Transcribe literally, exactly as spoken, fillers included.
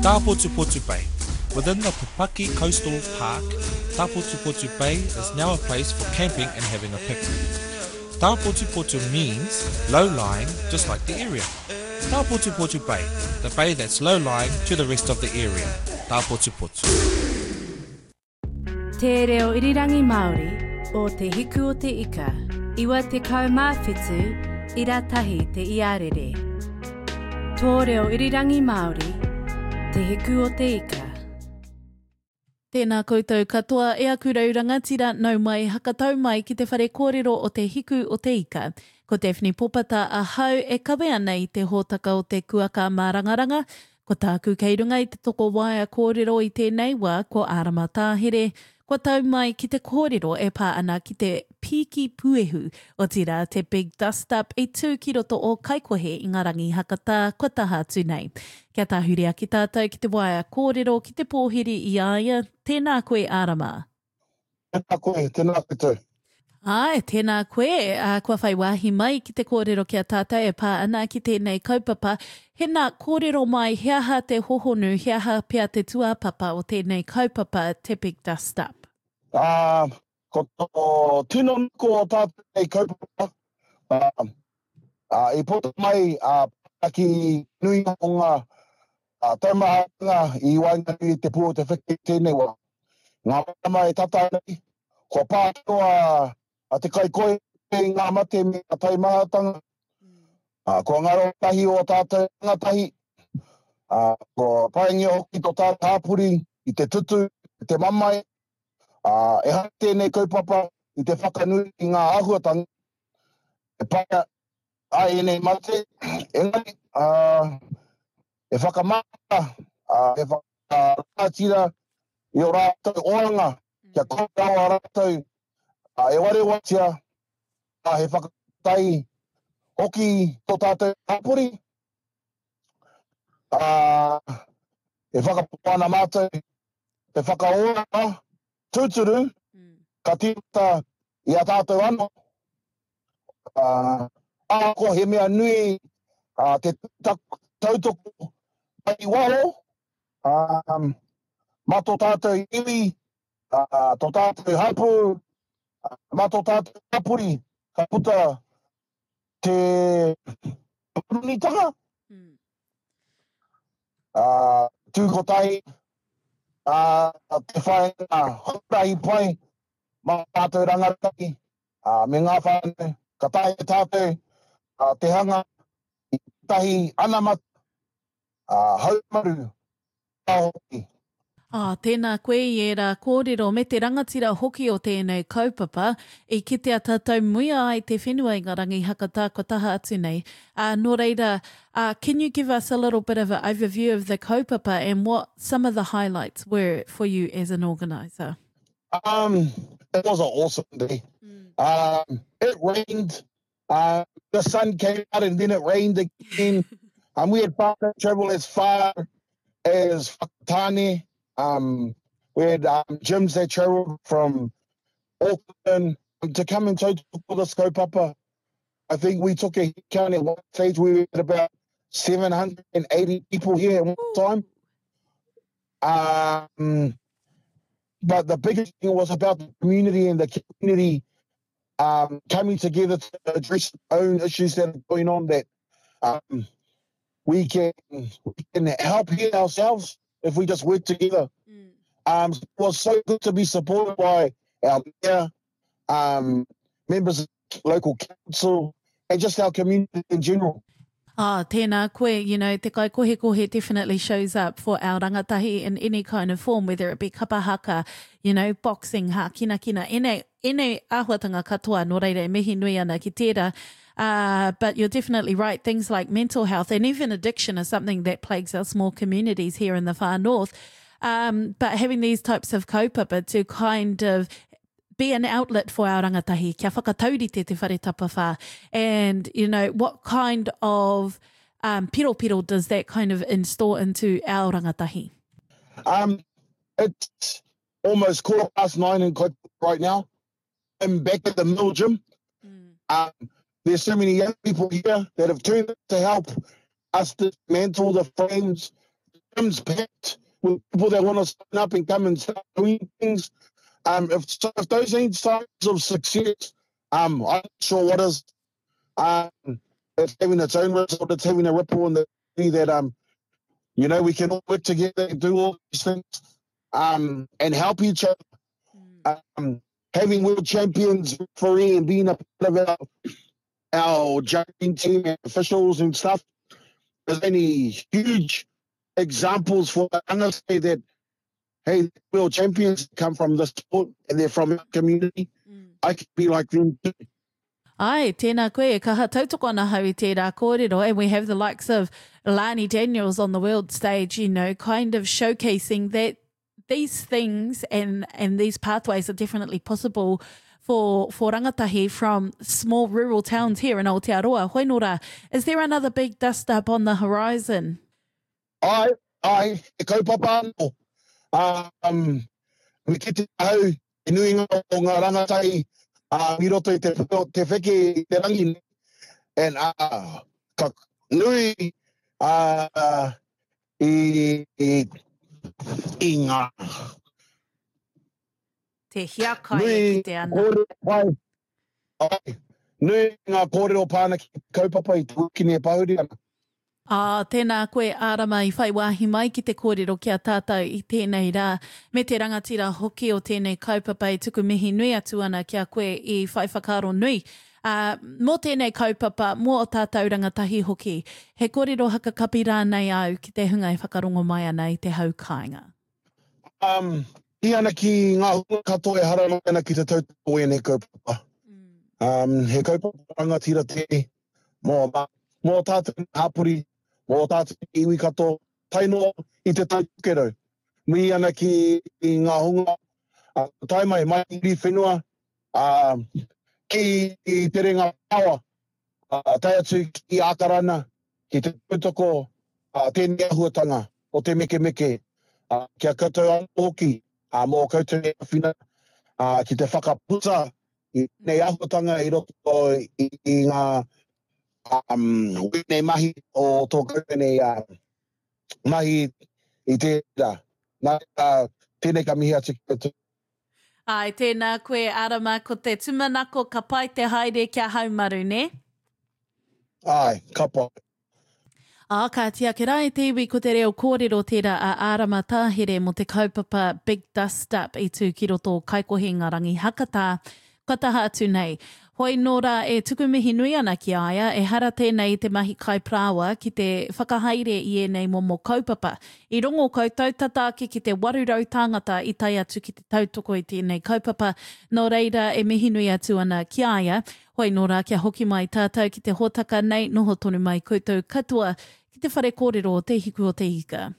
Tāpotupotu Bay. Within the Pupaki Coastal Park, Tāpotupotu Bay is now a place for camping and having a picnic. Tāpotupotu means low-lying, just like the area. Tāpotupotu Bay, the bay that's low-lying to the rest of the area. Tāpotupotu. Te reo irirangi Māori o Te Hiku o Te Ika, iwa tekau mā whitu, ira tahi te iarere. Tō reo irirangi Māori, Te Hiku o Te Ika. Tēnā koutou katoa e aku rau rangatira nau mai hakatau mai ki te whare kōrero o Te Hiku o Te Ika. Ko Daphne Popata ahau e kawe ana i te hōtaka o te kuaka mārangaranga. Ko tāku kei runga i te tokowaea kōrero i tēnei wā ko Ārama Tāhere. Kua tau mai ki te kōrero e pā ana ki te pīki puehu, otirā te Big Dust Up i tū ki roto o Kaikohe i ngā rangi hakatā kua taha atu nei. Kia tahuri ake tātou ki te waea kōrero ki te pōhiri i a ia, tēnā koe Ārama. Tēnā koe, tēnā koutou. Āe, tēnā koe, ā, kua whai wāhi mai ki te kōrero ki a tātou e pā ana ki tēnei kaupapa. Hena, kōrero mai, he aha te hohonu, he aha pea te tūāpapa o tēnei kaupapa, te Big Dust Up? Ā, ko tō tino nuku o tātou nei kaupapa, ā, ā, i puta mai ā, ki nui o ngā taumahatanga i waenganui i te pū o te wheke i tēnei wā. Ngā marama e tata nei, kua pā katoa a te kaikoi i ngā mate me ngā taumahatanga, ā, kua ngaro tahi o tātou rangatahi, ā, kua paingia hoki tō tātou hapori i te tutu, i te mamae, ā, ehara tēnei kaupapa i te whakanui i ngā āhuatanga e pai ai ēnei mate, engari, ā, e whakamana, ā, e whakarangatira i ō rātou oranga, kia kore rawa rātou e warewatia, ā, he whakatahi hoki tō tātou hapori, ā, e whakapono ana mātou te whakaora tūturu, ka tīmata i a tātou anō, ā, ahakoa he mea nui ā, te tautoko mai i waho, ā, mā tō tātou iwi, ā, tō tātou hapū, mā tō tātou hapori ka puta te panonitanga. Ā, tū kotahi, ā, te whāinga huarahi pai mā tātou rangatahi, ā, me ngā whānau, ka taea e tātou ā, te hanga i tētahi anamata, ā, haumaru hoki. Oh, tēnā koe i ērā kōrero me te rangatira hoki o tēnei kaupapa i kitea tātou muia ai te whenua i ngā rangi hakatā kua taha atu nei. Uh, nō reira, uh, can you give us a little bit of an overview of the kaupapa and what some of the highlights were for you as an organiser? Um, it was an awesome day. Mm. Um, it rained. Uh, the sun came out and then it rained again. um, we had far travel as far as Whakatane. Um, we had um, gyms that traveled from Auckland to come and tautoko this kaupapa. I think we took a count at one stage. We had about seven hundred and eighty people here at one time. Um, but the biggest thing was about the community and the community um, coming together to address own issues that are going on, that um, we can, we can help here ourselves if we just work together. Mm. Um, it was so good to be supported by our mayor, um, members of local council, and just our community in general. Ah, tēnā koe, you know, te kaikohekohe definitely shows up for our rangatahi in any kind of form, whether it be kapa haka, you know, boxing, hākinakina, ēnei, ēnei āhuatanga katoa, nō reira e mihi nui ana ki tērā. Uh, but you're definitely right, things like mental health and even addiction are something that plagues our small communities here in the far north. Um, but having these types of kaupapa to kind of be an outlet for our rangatahi, kia whakataurite te whare tapawhā. And, you know, what kind of um, piropiro does that kind of install into our rangatahi? Um, it's almost quarter past nine in Kaikohe right now. I'm back at the mill gym. Mm. Um, there's so many young people here that have turned up to help us dismantle the frames, Gym's packed with people that want to sign up and come and start doing things. Um, if, so if those ain't signs of success, um, I'm not sure what is. Um, it's having its own result. It's having a ripple in the that um, you know, we can all work together and do all these things, um, and help each other. Mm. Um, having world champions referee and being a part of our, our judging team and officials and stuff, there's any huge examples for us that, hey, world champions come from this sport and they're from our community. Mm. I could be like them too. Ai, tēnā koe, kaha tautoko ana hau i tērā kōrero, and we have the likes of Lani Daniels on the world stage, you know, kind of showcasing that these things and, and these pathways are definitely possible for, for rangatahi from small rural towns here in Aotearoa. Hoinora, is there another big dust up on the horizon? Ai, ai, e kaupapa anō. Um, me kite au, e nuinga o ngā rangatahi uh, i roto i te, te wheke i te rangi. And uh, ka nui uh, i, i, i ngā. Te hiakai e kite ana. Kōrero pai. Ai, nui ngā kōrero pāna ki kaupapa i te wikini e pahuri ana. Ā, tēnā koe Ārama i whai wāhi mai ki te kōrero ki a tātou i tēnei rā. Me te rangatira hoki o tēnei kaupapa e tuku mihi nui atu ana ki a koe i whai whakaaro nui. Uh, mō tēnei kaupapa, mō o tātou rangatahi hoki. He kōrero hakakapi rānei au ki te hunga e whakarongo mai ana i te hau kāinga. Um, i ana ki ngā hunga katoa e hara mai ana ki te tautoko ēnei kaupapa. Mm. Um, he kaupapa rangatira tēnei mō, mō tātou hapori, mō tātou iwi katoa, tae noa i te Tai Tokerau. Mihi ana ki ngā hunga, uh, tae mai, mai i whenua, uh, ki te Rerenga Paoa, uh, tae atu ki Ākarana, ki te tautoko uh, tēnei āhuatanga o te mekemeke, uh, kia koutou anō hoki, uh, mō koutou e āwhina, uh, ki te whakaputa i tēnei āhuatanga i roto i, i ngā um, wēnei mahi o tō koutou nei uh, mahi i tērā. Nā, uh, tēnei ka mihi atu ki koutou. Ai, tēnā koe, Ārama, ko te tūmanako ka pai te haere kia haumaru, ne? Ai, ka pai. Ā, ka oti ake rā e te iwi ko te reo kōrero tērā a Ārama Tāhere mō te kaupapa Big Dust Up i tū ki roto o Kaikohe ngā rangi hakatā. Kua taha atu nei. Hoi nō rā e tuku mihi nui ana ki a ia, ehara tēnei i te mahi kai parāoa ki te whakahaere i ēnei momo kaupapa. I rongo koutou tata ake ki te waru rau tāngata i tae atu ki te tautoko i tēnei kaupapa, nō reira e mihi nui atu ana ki a ia. Hoi nō rā kia hoki mai tātou ki te hōtaka nei, noho tonu mai koutou katoa ki te whare kōrero o Te Hiku o Te Ika.